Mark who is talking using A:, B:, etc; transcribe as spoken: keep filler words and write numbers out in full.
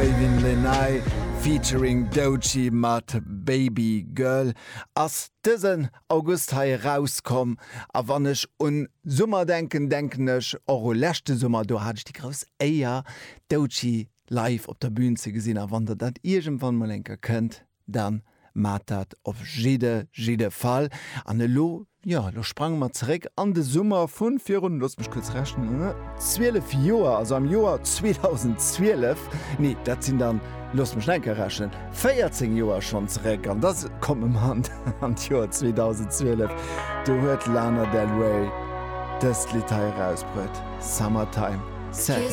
A: Ravyn Lenae featuring Doechii mat Baby Girl ass dësen August hei erauskomm. A wann ech un Summer denken, denken ech och u leschte Summer, do hat ech déi grouss Éier, Doechii live op der Bün ze gesinn. A wann der dat iergendwann mol eng Kéier kënnt, dann maacht dat op jidde jidde Fall. An elo, jo, elo sprange mer zeréck an de Summer vu virun, loosst mech kuerz rechnen, zwielef Joer, also am Joer zweedausendzwielef, nee, dat sinn dann, loosst mech nach eng Kéier rechnen, véierzéng Joer schonn zeréck, an da komme mer an d'Joer zweedausendzwielef, do huet Lana Del Rey dëst Lidd hei erausbruet, Summertime Sadness.